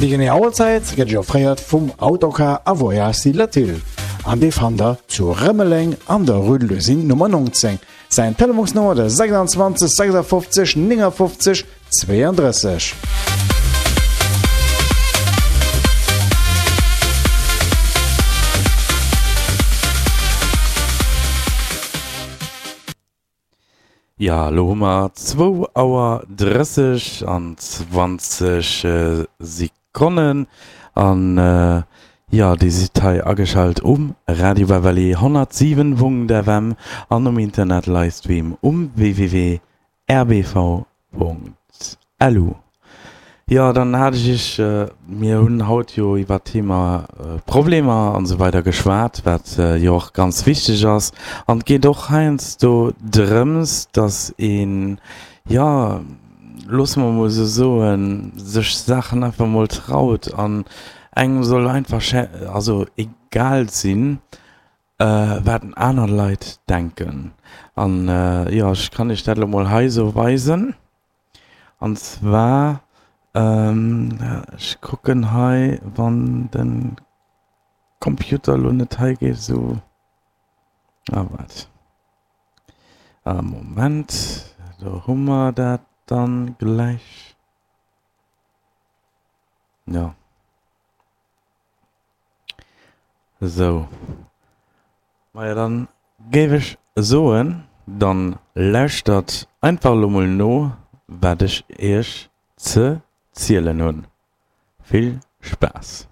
Déi genee Auerzäit gëtt Iech offréiert vum Autocar a Voyages Latil an dee fannt der zu Rëmeleng an der Rue de l'Usine Nummer 19. Säin Telefonsnummer de 26 56 59 32. Jo, elo hu mer zwou Auer 30 an 20 Sekonnen an jo, Dir sidd hei ageschalt um Radio Valley 107.fm an um Internet Livestream um www. Rbv.lu Jo, dann hat ech Iech, mir hunn haut jo iwwer d'Thema Problemer an esou weider geschwat, wat jo och ganz wichteg ass. An et geet och heiansdo drëms, datt een, jo, loosse mer emol esou soen, sech Saachen einfach emol traut an engem soll einfach, also egal sinn, Wat aner Leit denken. An jo, ech kann iech dat elo mol hei esou weisen. An zwar, ech kucken hei, wann de Computer elo net hei géif esou, ah waart, ah Moment, do hu mer dat dann gläich, jo. Esou, majo dann géif ech soen, dann lauschtert einfach elo mol no wat ech iech ze zielen hunn. Vill Spaass!